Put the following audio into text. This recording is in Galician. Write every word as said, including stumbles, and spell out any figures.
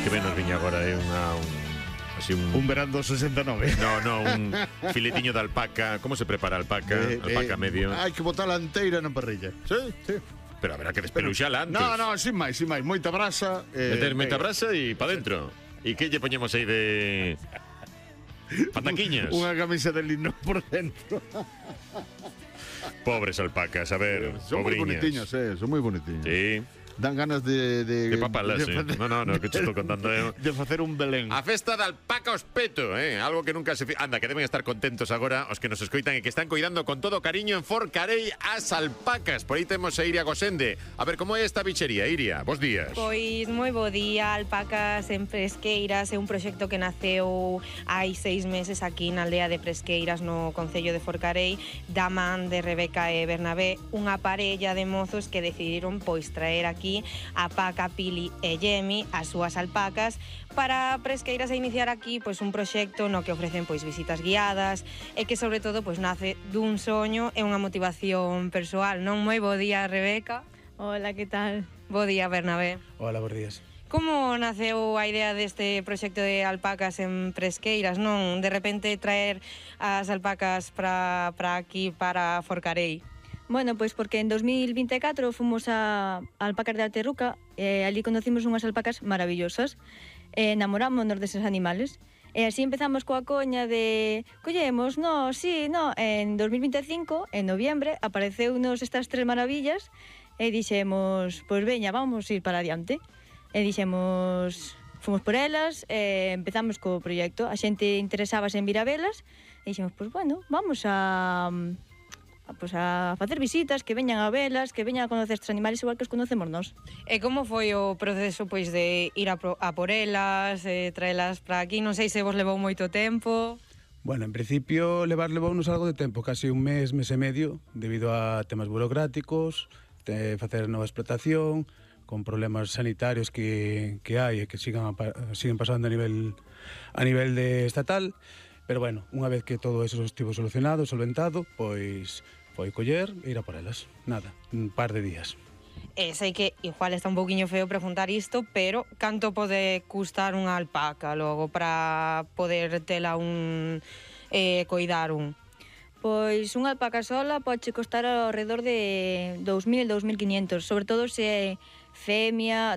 que ben nos viña agora, é unha... Un... Así un... un verán do sesenta e nove. No, no, un filetiño de alpaca. Como se prepara a alpaca? Eh, alpaca eh, medio. Hai que botar a enteira na parrilla. Sí? Sí. Pero haberá que despeluxala antes. No, no, sin máis, sin máis. Moita brasa. Eh, Meter moita eh, brasa e pa dentro. E que lle poñemos aí de... Pataquiñas? Unha camisa de lino por dentro. Pobres alpacas, a ver, Son moi pobriñas. bonitiños, eh, son moi bonitiños. Sí. Dan ganas de... De, De papalas, sí. facer- No, no, no, que te estou contando eu. De facer un Belén. A festa da alpaca os peto, eh? Algo que nunca se... Fi... Anda, que deben estar contentos agora os que nos escoitan e que están cuidando con todo cariño en Forcarei as alpacas. Por aí temos a Iria Gosende. A ver, como é esta bichería, Iria? Bos días. Pois moi bo día, Alpacas en Presqueiras é un proxecto que naceu hai seis meses aquí na aldea de Presqueiras no concello de Forcarei da man de Rebeca e Bernabé, unha parella de mozos que decidiron pois traer aquí a Paca, Pili e Yemi, as súas alpacas, para Presqueiras e iniciar aquí pois un proxecto no que ofrecen pois visitas guiadas e que sobre todo pois nace dun soño e unha motivación persoal, non? Moi bo día, Rebeca. Hola, que tal? Bo día, Bernabé. Hola, bons días. Como naceu a idea deste proxecto de alpacas en Presqueiras, non? De repente traer as alpacas para para aquí, para Forcarei. Bueno, pois porque en dos mil vinte e catro fomos a Alpacas de Alterruca e ali conocimos unhas alpacas maravillosas e enamorámonos deses animales. E así empezamos coa coña de collemos, no, sí, no. En dos mil vinte e cinco, en noviembre, apareceunos estas tres maravillas e dixemos, pois veña, vamos ir para adiante. E dixemos, fomos por elas e empezamos co proxecto. A xente interesábase en vir a velas e dixemos, pois bueno, vamos a... a, pues a facer visitas, que veñan a velas, que veñan a conocer estes animales igual que os conocemos nós. E como foi o proceso pois de ir a, pro, a por elas, eh, traelas para aquí? Non sei se vos levou moito tempo. Bueno, en principio levar levounos algo de tempo, casi un mes, mes e medio, debido a temas burocráticos, de facer nova explotación, con problemas sanitarios que, que hai e que sigan, a, siguen pasando a nivel, a nivel de estatal. Pero bueno, unha vez que todo eso estivo solucionado, solventado, pois foi coller e ir a por elas. Nada, un par de días. E sei que igual está un pouquiño feo preguntar isto, pero canto pode custar unha alpaca logo para poder tela un eh, coidar un? Pois unha alpaca sola pode costar ao redor de dous mil, dous mil quinhentos, sobre todo se é femia,